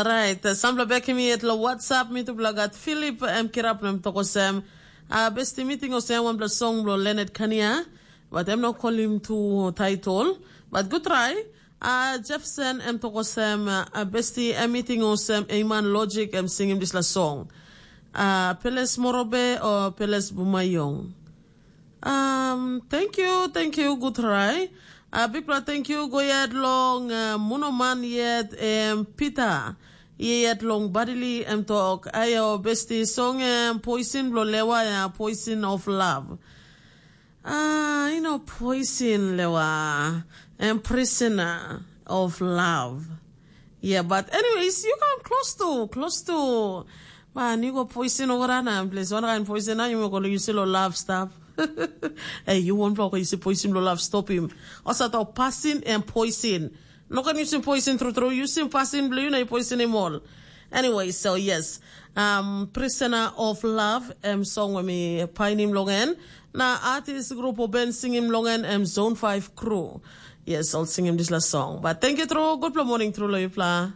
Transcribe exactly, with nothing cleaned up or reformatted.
Orait, sampela bekim yet long WhatsApp mitupela gat Filip em kirap na em tok olsem, uh, besti miting olsem wanpela song bilong Lenet Kania, but em no kolim tu title, but good try. Uh, Jefferson em tok olsem, uh, besti em miting olsem Eiman Logic em singim dispela song. Uh, Peles Morobe o Peles Bumayong. Um, thank you, thank you, good try. Uh, big brother, thank you. Go yet long uh, Munoman yet em Peter. Ye yet long Badili em talk. Ayo besti song em poison blo lewa ya poison of love. Ah, you know poison lewa em prisoner of love. Yeah, but anyways, you come close to, close to. Man, you go poison over and place. One kind poison now, you go use lo love stuff. Hey, you won't block you see poison lo love stop him. Also to passing and poison. No can using poison through through using passing blue na poison him all. Anyway, so yes, um, Prisoner of Love em song we mi painim long en. Na artist group o ben singim long en em Zone five crew. Yes, all singim this last song. But thank you through. Good morning through lo yupla.